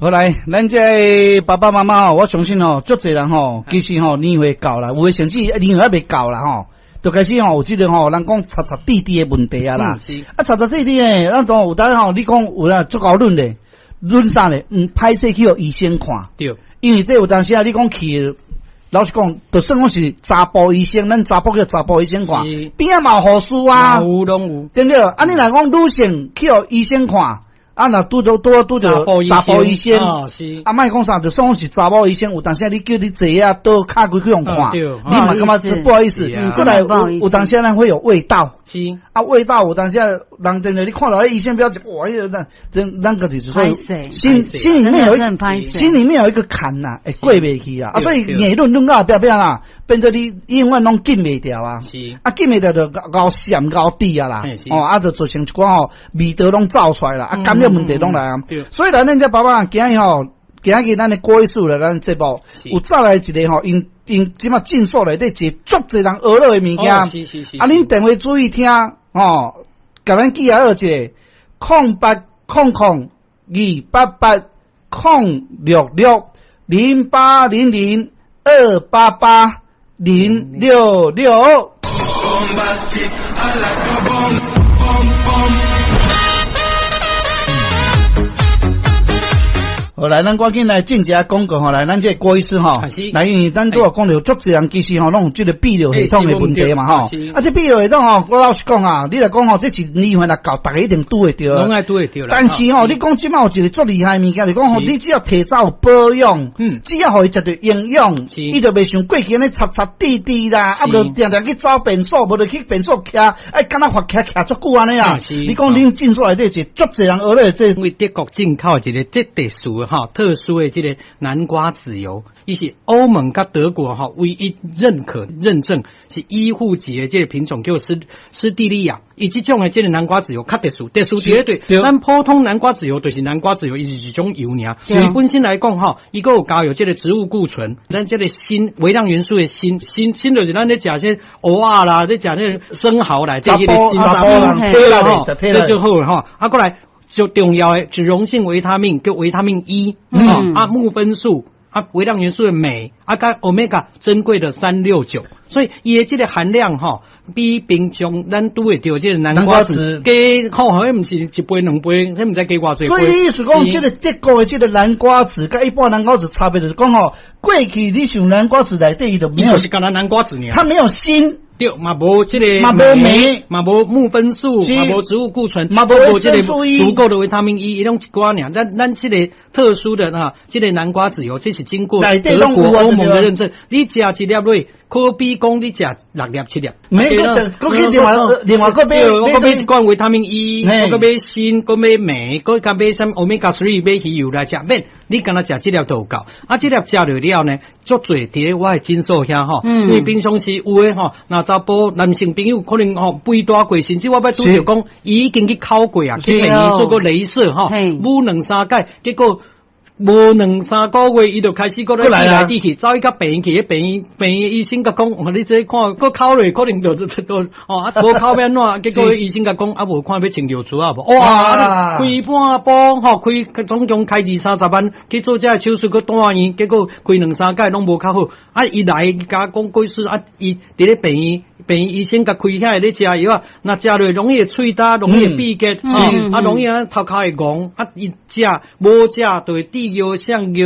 好來，咱這个爸爸媽媽吼，我相信吼，足濟人吼，其實吼年歲到啦，有的甚至年歲猶未到啦吼，就開始吼有這個吼，人講擦擦滴滴的問題啊啦。啊，擦擦滴滴的，咱當有當吼，你講有啦，足𠢕忍的，忍啥咧？歹勢去予醫生看。因為這有當時啊，你講去，老實講，就算講是查埔醫生，咱查埔叫查埔醫生看，邊仔嘛有護士啊，有攏有，對毋對？啊，你若講女性去予醫生看，啊，若拄著拄拄著查埔醫生，啊，莫講啥，就算講是查某醫生，有當時你叫你坐啊倒跤規去予看，你嘛感覺不好意思。再來有當時咱會有味道，啊，味道有當時人真的，你看到彼醫生表情，哇，彼個咱真咱個就是說，心裡面有一個坎吶，會過袂去啊，啊，所以硬忍忍到後壁壁啦，變做你永遠攏禁袂牢啊，啊，禁袂牢就𠢕閃𠢕滴啊啦，哦，啊，就造成一寡吼味道攏走出來啦，啊，感染問題攏來啊。所以來咱這爸爸今日吼，今日咱的郭醫師來咱節目，有走來一個吼，𪜶𪜶這馬診所內底一個足濟人學落的物件，啊，恁電話注意聽吼，共咱記下好一個0800288066，0800288066。 Bombastic, I like a bomb, bomb, bomb. 好，來，咱趕緊來進一下廣告吼，來，咱這個郭醫師吼，來，因為咱拄仔講著足濟人其實吼，攏有這個泌尿系統的問題嘛吼，啊，這泌尿系統吼，我老實講啊，你來講吼，這是年歲若到，逐家一定拄會著。攏愛拄會著啦。但是吼，你講這馬有一個足厲害的物件，就講吼，你只要提早有保養，只要予伊食著營養，伊就袂像過去按呢擦擦滴滴啦，啊，無定定去走便所，無就去便所徛，哎，敢若罰徛徛足久按呢啦。你講恁診所內底一個足濟人學咧，這因為德國進口一個這特殊的哈，特殊的這個南瓜籽油，伊是歐盟佮德國哈唯一認可認證是醫護級的這個品種，叫斯蒂利亞。伊這種的這個南瓜籽油較特殊，特殊佇咧對，咱普通南瓜籽油就是南瓜籽油，伊是一種油爾。伊本身來講吼，伊閣有加有這個植物固醇，咱這個鋅微量元素的鋅，鋅鋅就是咱咧食這蚵仔啦，咧食那個生蠔來這彼個鋅，對啦吼，這就好吼。啊，過來最重要的脂溶性維他命叫維他命 E，啊木酚素。啊，微量元素的鎂，啊，佮歐米伽珍貴的369，所以伊的這個含量吼，比平常咱拄會著這個南瓜籽加吼，彼毋是一倍兩倍，彼毋知加偌濟倍。所以你意思講，這個德國的這個南瓜籽，佮一般南瓜籽差別就是講吼，過去你想南瓜籽內底伊就沒有，是干焦南瓜籽爾，它沒有鋅。對，嘛無這個，嘛無鎂，嘛無木酚素，嘛無植物固醇，嘛無這個足夠的維他命 E，伊攏一寡爾。咱這個特殊的哈，這個南瓜籽油，這是經過德國歐盟的認證。你食一粒落，可比講你食六粒七粒。沒，閣食，閣去另外另外閣買，閣買一罐維他命 E，閣買鋅，閣買鎂，閣加買啥物歐米伽 three 買魚油來食，免你干焦食這粒就有夠。啊，這粒食落了呢，足濟佇咧我的診所遐吼，因為平常時有的吼，若查埔男性朋友可能吼肥大過，甚至我捌拄著講，伊已經去烤過啊，去病院做過雷射吼，舞兩三擺，結果無兩三個月，伊就開始閣咧滴來滴去，走去共病院去，彼病院病院醫生共講，你這看閣烤落，可能就就就哦，啊無烤欲按怎？結果醫生共講，啊無看欲穿尿苴仔無？哇，開半埔吼，開總共開二三十萬去做這個手術，閣住院，結果開兩三擺攏無較好。啊，伊來共講過說啊，伊佇咧病院，病院醫生共開遐咧食藥啊，若食落容易會喙焦，容易會秘結，啊容易啊頭殼會戇，啊伊食無食就會滴尿、潲尿。